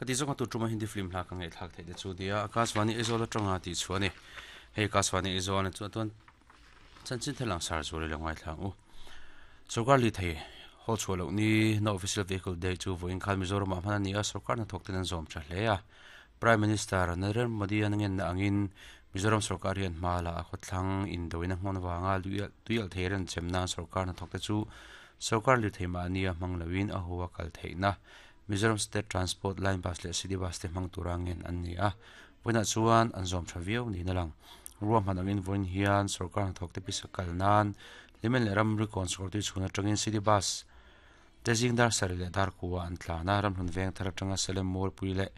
Ka ti zawng a tu tuma Hindi film hla ka ngaihthlak theih te chu nia Akashvani Aizawl atanga tih chhuah a ni. Hei Akashvani Aizawl a chuan chanchin thil ang sar zual i lo ngaithla ang u. Sorkar lirthei haw chhuah loh ni No Official Vehicle Day chu vawiin khan Mizoramah hman a ni a, sorkar hnathawk ten an zawm tha hle a. Prime Minister Narendra Modi an ngenna angin Mizoram sorkar hian hma la a khawthlang indoina hmun avanga tuialh thei renchem nan sorkar hnathawk te chu sorkar lirthei mahnia hmang loin a hu a kal theihna Mizoram State Transport Line Bus leh City Bus te hmang tura ngen an ni a, vawiinah chuan an zawm tha viau niin a lang. Ruahman angin vawiin hian sorkar hnathawk te pisa kal nan Hlimen leh Ramri kawn Sakawrtui chhun atangin City Bus te zing dar sarih leh dar kua an tlan a, Ramhlun veng thar atanga Salem Mualpui leh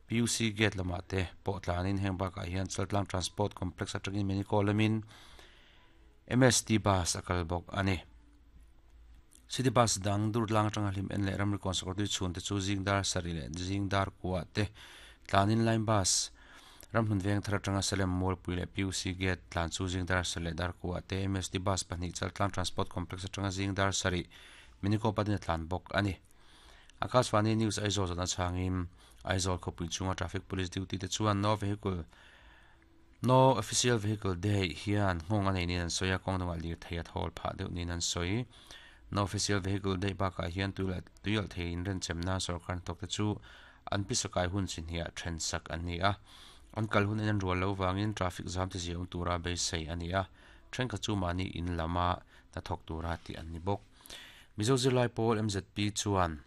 PUC Gate lamah te pawh tlanin heng bakah hian Chaltlang Transport Complex atangin Meniko lamin MST Bus a kal bawk a ni. City Bus dang Durtlang atanga hlim en leh Ramri kawn Sakawrtui chhun te chu zing dar sarih leh zing dar kua te tlanin Line Bus Ramhlun veng thar atanga Salem Mualpui leh PUC Gate tlan chu zing dar sarih leh dar kua te MST Bus pahnih Chaltlang Transport Complex atanga zing dar sarih Minico patin a tlan bawk a ni. Akashvani News Aizawl zawhna chhangin Aizawl khawpui chhunga Traffic Police duty te chuan No Vehicle No Official Vehicle Day hian nghawng a nei niin an sawi a, kawng dangah lirthei a thawl phah deuh niin an sawi. No Official Vehicle Day bakah hian tuialh thei inrenchem nan sorkar hnathawk te chu an pisakai hun chi hniah then sak an ni a, an kal hun en an rual lo vangin traffic zam te ziah awm tura beisei a ni a, thenkhat chu mahni in lama hnathawk tura tih an ni bawk. Mizo zirlai pawl MZP chuan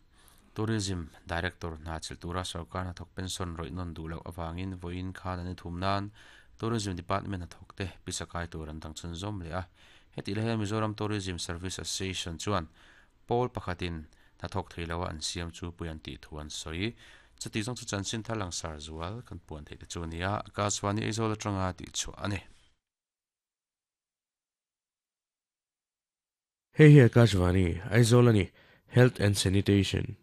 Tourism Director hna chilh tura sorkar hnathawk pension rawih nawn duh loh avangin vawiin khan an inthum nan Tourism Department hnathawk te pisa kai tur an dang chhunzawm leh a. Hetih lai hian Mizoram Tourism Service Association chuan pawl pakhatin hnathawk thei loa an siam chu pui an tih thu an sawi. Chutih zawng chu chanchin thar langsar zual kan puan theih te chu a ni a, Akashvani Aizawl atanga tihchhuah a ni. Hei hi Akashvani, Aizawl a ni, Health and Sanitation.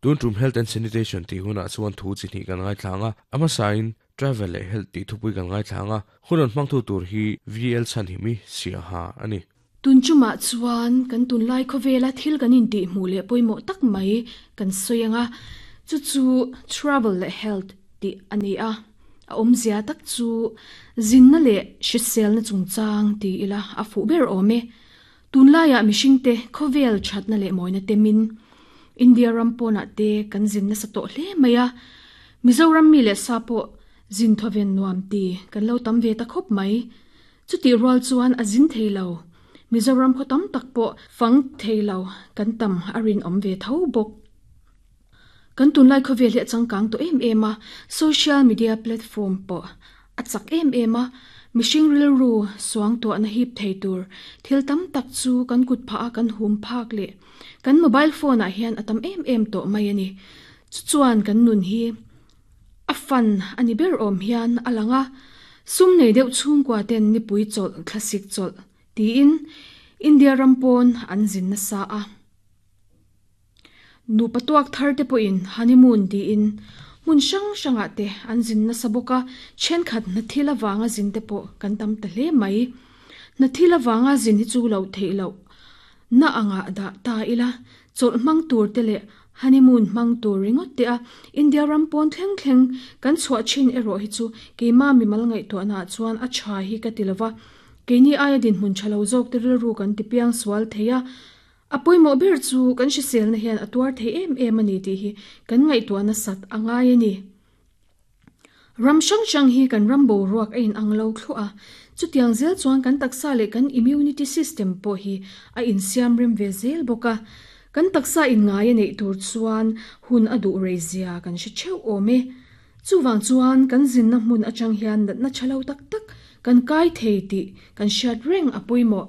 Tun tum Health and Sanitation tih hunah chuan thu chi hnih kan ngaithla ang a, a hmasain Travel leh Health tih thupui kan ngaithla ang a, hun rawn hmangtu tur hi VL Chhanhimi Siaha a ni. Tun chumah chuan kan tunlai khawvela thil kan intih hmuh leh pawimawh tak mai kan sawi ang a, chu chu Travel leh Health tih a ni a. A awmzia tak chu zinna leh hriselna chungchang ti ila a fuh ber awm e. Tunlaiah mihringte khawvel thatna leh mawina temin India ram pawnah te kan zin nasa tawh hle mai a, Mizoram mi leh sa pawh zin thawven nuam ti kan lo tam ve ta khawp mai. Chutih rual chuan a zin thei lo. Mizoram khaw tam tak pawh fang thei lo kan tam a rinawm ve tho bawk. Kan tunlai khawvel hi a changkang tawh em em a, social media platform pawh a chak em em a, mihring rilru suangtuahna hip thei tur thil tam tak chu kan kut phah a kan hum phak leh kan mobile phone ah hian a tam em em tawh mai a ni. Chu chuan kan nun hi A fan a ni ber awm hian a lang a, sum nei deuh chhungkua ten nipui chawlh thlasik chawlh tiin India ram pawn an zin nasa a. Nupa tuak thar te pawhin honeymoon tiin hmun hrang hrangah te an zin nasa bawk a, thenkhat hna thil avanga zin te pawh kan tam ta hle mai. Hna thil avanga zin hi chu loh theih loh na angah dah ta ila, chawlh hmang tur te leh honeymoon hmang tur ringawt te a India ram pawn thleng thleng kan chhuah thin erawh hi chu keima mimal ngaihtuahna ah chuan a tha hi ka ti lova, keini aia dinhmun tha lo zawk te rilru kan ti piang sual thei a, a pawimawh ber chu kan hriselna hian a tuar thei em em a ni tih hi kan ngaihtuah nasat a ngai a ni. Ram hrang hrang hi kan ram boruak a inang lo thluah a, chutiang zel chuan kan taksa leh kan immunity system pawh hi a insiam rem ve zel bawk a. Kan taksa inngai a neih tur chuan hun a duh rei zia kan hre theuh awm e. Chuvang chuan kan zinna hmun atang hian natna tha lo tak tak kan kai thei tih kan hriat reng a pawimawh.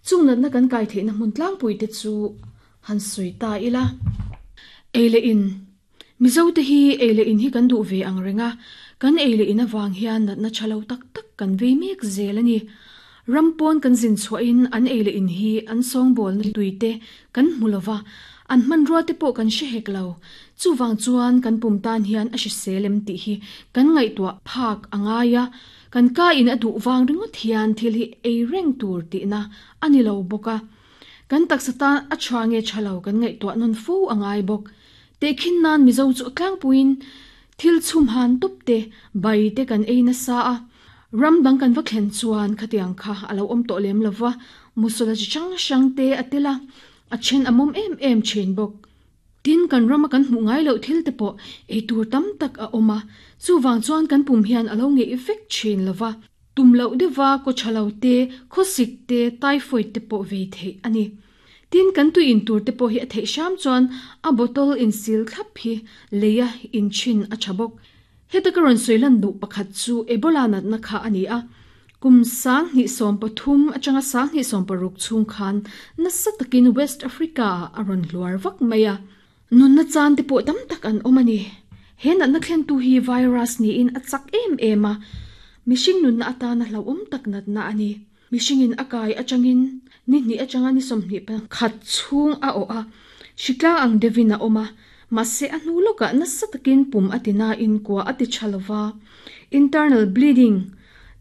Chung natna kan kai theihna hmun tlangpui te chu han sawi ta ila. Ei leh in. Mizote hi ei leh in hi kan duh ve ang reng a, kan ei leh in avang hian natna tha lo tak tak kan vei mek zel a ni. Ram pawn kan zin chhuahin an ei leh in hi an sawngbawlna tui te kan hmu lo va, an hmanrua te pawh kan hre hek lo. Chuvang chuan kan pum tan hian a hrisel em tih hi kan ngaihtuah phak a ngai a. Kan ka in a duh vang ringawt hian thil hi ei reng tur tihna a ni lo bawk a. Kan taksa tan a tha nge tha lo kan ngaihtuah nawn fo a ngai bawk. Tehkhin nan Mizo chu a tlangpuiin thil chhum han tawp te, bai te kan ei nasa a. Ram dang kan va thlen chuan khatiang kha a lo awm tawh lem lova, musawla chi hrang hrang te a tel a, a then a mawm em em thin bawk. Tin, kan rama kan hmuh ngai loh thil te pawh ei tur tam tak a awm a, chuvang chuan kan pum hian a lo ngeih vek thin lova. Tum loh deuha kaw tha lo te, khawsik te, typhoid te pawh vei theih a ni. Tin, kan tui in tur te pawh hi a theih hram chuan a bottle insil thlap hi leia inchhin a tha bawk. Heta ka rawn sawi lan duh pakhat chu Ebola natna kha a ni a. Kum 2013 atanga 2016 chhung khan nasa takin West Africa-ah a rawn hluar vak mai a. Nunna chan te pawh tam tak an awm a ni. He natna thlentu hi virus niin a chak em em a, mihring nunna atana hlauhawm tak natna a ni. Mihringin a kai atangin ni hnih atanga ni 21 chhung a awh a, hritlang ang deuhin a awm a, mahse a hnu lawkah nasa takin pum a ti nain kua a ti tha lova. Internal bleeding,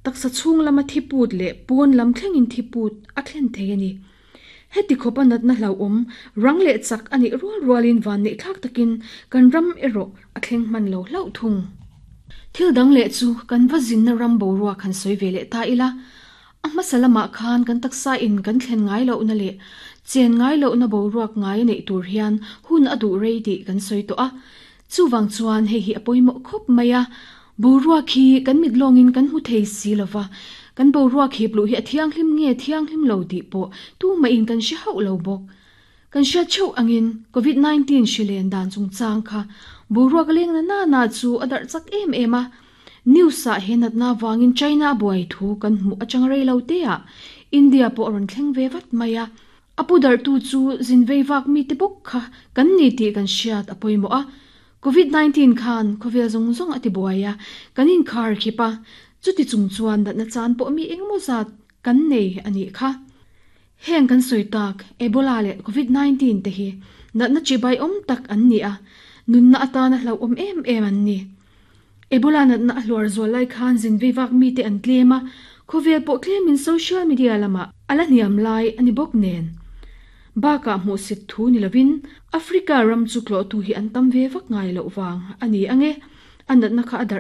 taksa chhung lama thi put leh pawn lam thlengin thi put a thlen thei a ni. Heti khawpa natna hlauhawm, rang leh chak a nih rual rualin van neih thlak takin kan ram erawh a thleng hman lo hlauh thung. Thil dang leh chu kan va zinna ram boruak han sawi ve leh ta ila, a hmasa lamah khan kan taksa in kan thlen ngai lohna leh chen ngai lohna boruak ngai a neih tur hian hun a duh rei tih kan sawi tawh a. Chuvang chuan hei hi a pawimawh khawp mai a, boruak hi kan mit lawngin kan hmu thei si lo va, kan boruak hip luh hi a thianghlim nge thianghlim lo tih pawh tumahin kan hre hauh lo bawk. Kan hriat theuh angin Covid 19 hri len dan chungchang kha boruak leng na na na chu a darh chak em em a, news ah he natna vangin China a buai thu kan hmuh atang rei lo te ah India pawh a rawn thleng ve vat mai a. A pu darhtu chu zin vei vak mite bawk kha kan ni tih kan hriat a pawimawh a. Covid 19 khan khawvel zawng zawng a ti buai a, kan inkhar khip a, chuti chung chuan natna chan pawh mi engemaw zat kan nei a nih kha. Heng kan sawi tak Ebola leh Covid 19 te hi natna chibai awm tak an ni a, nunna atana hlauhawm em em an ni. Ebola natna a hluar zual lai khan zin vei vak mite an tlem a, khawvel pawh tlemin social media lamah a la hniam lai a ni bawk nen. Bakah hmuhsit thu ni lovin Africa ram chu tlawhtu hi an tam ve vak ngai loh vang a ni ange, a natna kha a darh.